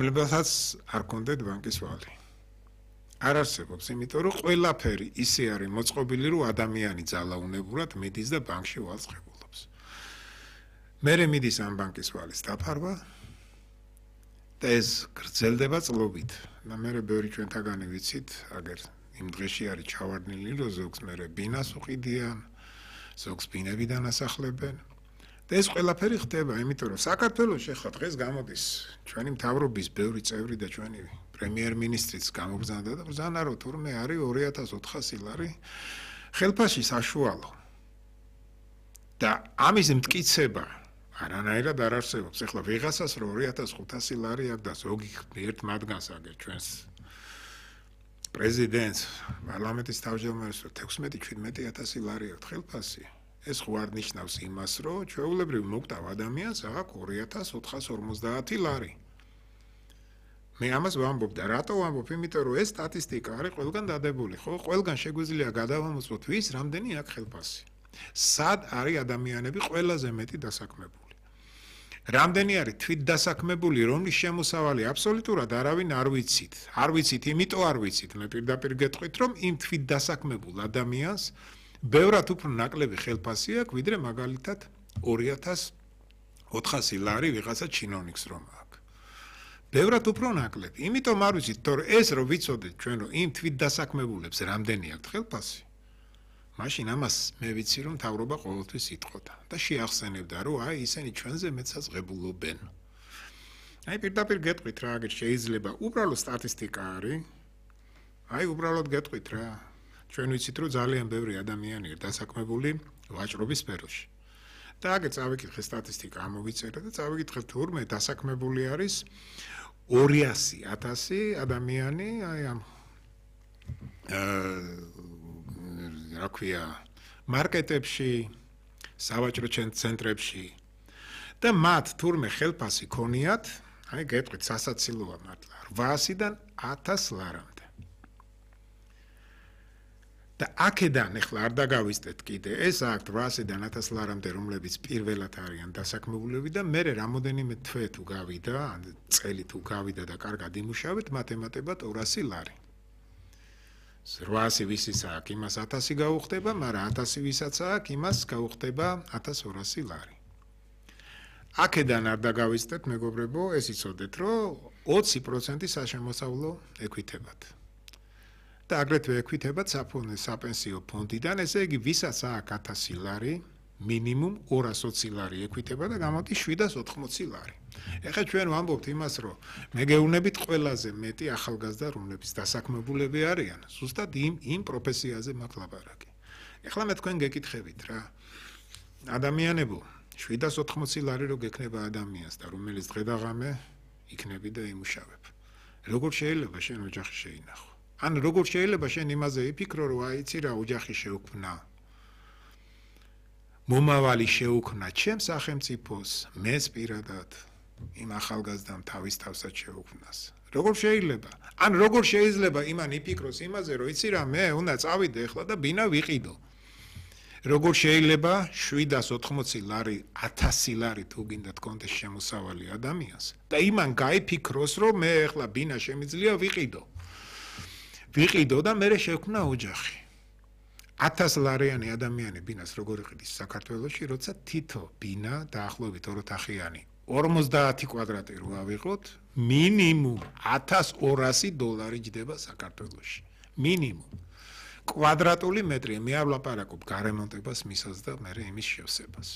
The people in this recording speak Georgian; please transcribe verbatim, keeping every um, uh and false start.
რომლებსაც არ კონდეთ ბანკის ვალი. არ არსებობს, იმიტომ რომ ყველაფერი ისე არის მოწყობილი, რომ ადამიანი ძალაუნებურად მიდის და ბანკში ვალს ღებულობს. მერე მიდის ამ ბანკის ვალის დაფარვა და ეს გრძელდება წლობით. და მერე ბევრი ჩვენთაგანი ვიცით, აგერ იმ დღეში არის ჩავარდნილი, რომ ზოგს მერე ბინას უყიდიან, ზოგს ბინებიდან ასახლებენ. და ეს ყველაფერი ხდება, იმიტომ რომ საქართველოში ხა დღეს გამოდის ჩვენი მთავრობის ბევრი წევრი და ჩვენი პრემიერ-მინისტრიც გამოგზავნა და ბრძანა რომ თურმე არის ორი ათას ოთხასი ლარი ხელფასში საშუალო. და ამის მტკიცება არანაირად არ არსებობს. ეხლა ვიღაცას რომ ორი ათას ხუთასი ლარი აქვს და ზოგი ერთ მათგანს აგერ ჩვენს პრეზიდენტს, პარლამენტის თავმჯდომარეს რომ თექვსმეტი შვიდმეტი ათასი ლარი აქვს ხელფასი. ეს ხო არ ნიშნავს იმას, რომ ჩვეულებრივ მოკტავ ადამიანს აქვს ორი ათას ოთხას ორმოცდაათი ლარი. მე ამას ვამბობ და რატო ვამბობ? იმიტომ რომ ეს სტატისტიკა არის ყველგან დადებული, ხო? ყველგან შეგვიძლია გადავამოწმოთ ვის რამდენი აქვს ხელფასი. სად არის ადამიანები ყველაზე მეტი დასაქმებული? რამდენი არის თვით დასაქმებული, რომლის შემოსავალი აბსოლუტურად არავინ არ ვიცით. არ ვიცით, იმიტომ არ ვიცით. მე პირდაპირ გეტყვით, რომ იმ თვით დასაქმებულ ადამიანს ბევრად უფრო ნაკლები ხელფასი აქვს, ვიდრე მაგალითად ორი ათას ოთხასი ლარი ვიღაცა ჩინოვნიკს რომ აქვს. ბევრად უფრო ნაკლები. იმიტომ არ ვიცით, თორე ეს რომ ვიცოდეთ ჩვენ რომ იმ თვით დასაქმებულებს რამდენი აქვს ხელფასი. მაშინ ამას მე ვიცი რომ მთავრობა ყოველთვის იტყოდა და შეახსენებდა რომ აი ისინი ჩვენზე მეცაც ღებულობენ. აი პირდაპირ გეტყვით რა, აგერ შეიძლება უბრალოდ სტატისტიკა არის. აი უბრალოდ გეტყვით რა. ჩვენ ვიცით რომ ძალიან ბევრი ადამიანია დასაქმებული ვაჭრობის სფეროში. და აგერ წავიკითხე სტატისტიკა ამოვიწერე და წავიკითხე თურმე დასაქმებული არის ორი ათი ათასი ადამიანი აი ამ რა ქვია მარკეტებში, სავაჭრო ცენტრებში და მათ თურმე ხელფასი ქონიათ, აი გეტყვით სასაცილოა მართლა რვაასიდან ათას ლარამდე. და აქედან ეხლა არ დაგავისდეთ კიდე, ეს აქვს რვაასიდან ათას ლარამდე, რომლებიც პირველად არიან დასაქმებულები და მერე რამოდენიმე თვე თუ გავიდა, წელი თუ გავიდა და კარგად იმუშავეთ, მათ ემატებათ ორასი ლარი. რვაასი ვისაც აქვს, იმას ათასი გაუხდება, მაგრამ ათასი ვისაც აქვს, იმას გაუხდება ათას ორასი ლარი. აქედან არ დაგავისდეთ, მეგობრებო, ეს იცოდეთ, რომ ოცი პროცენტი საშემოსავლო ექვითებათ. და აგრეთვე ექვითებათ საპენსიო ფონდიდან, ესე იგი ვისაც აქვს ათასი ლარი, მინიმუმ ორას ოცი ლარი ექვითება და გამოდის შვიდას ოთხმოცი ლარი. ეხლა ჩვენ ვამბობთ იმას, რომ მე გეუბნებით ყველაზე მეტი ახალგაზრდა, რომლებიც დასაქმებულები არიან, ზუსტად იმ იმ პროფესიაზე მაქვს ლაპარაკი. ეხლა მე თქვენ გეკითხებით რა. ადამიანებო, შვიდას ოთხმოცი ლარი რო გექნება ადამიანს და რომელიც დღე და ღამე იქნები და იმუშავებ. როგორ შეიძლება შენ ოჯახი შეინახო? ან როგორ შეიძლება შენ იმაზე იფიქრო, რომ აი იცი რა, ოჯახი შეუქმნა. მომავალი შეუქმნა ჩემ სახელმწიფოს, მეც პირადად იმ ახალგაზრდამ თავის თავსაც შეუქმნას. როგორ შეიძლება? ან როგორ შეიძლება იმან იფიქროს იმაზე, რომ იცი რა, მე უნდა წავიდე ახლა და ბინა ვიყიდო. როგორ შეიძლება შვიდას ოთხმოცი ლარი, ათასი ლარი თუ გინდა თქონდეს შემოსავალი ადამიანს და იმან გაიფიქროს, რომ მე ახლა ბინა შემიძლია ვიყიდო. ვიყიდო და მე შევქმნა ოჯახი. ათას ლარიანი ადამიანი ბინას როგორ იყიდის საქართველოში, როცა თითო ბინა დაახლოებით ოროთახიანი ორმოცდაათი კვადრატი რო ავიღოთ, მინიმუმ ათას ორასი დოლარი ჯდება საქართველოში. მინიმუმ. კვადრატული მეტრია, მე არ ვლაპარაკობ გარემონტებას, მისას და მე იმის შევსებას.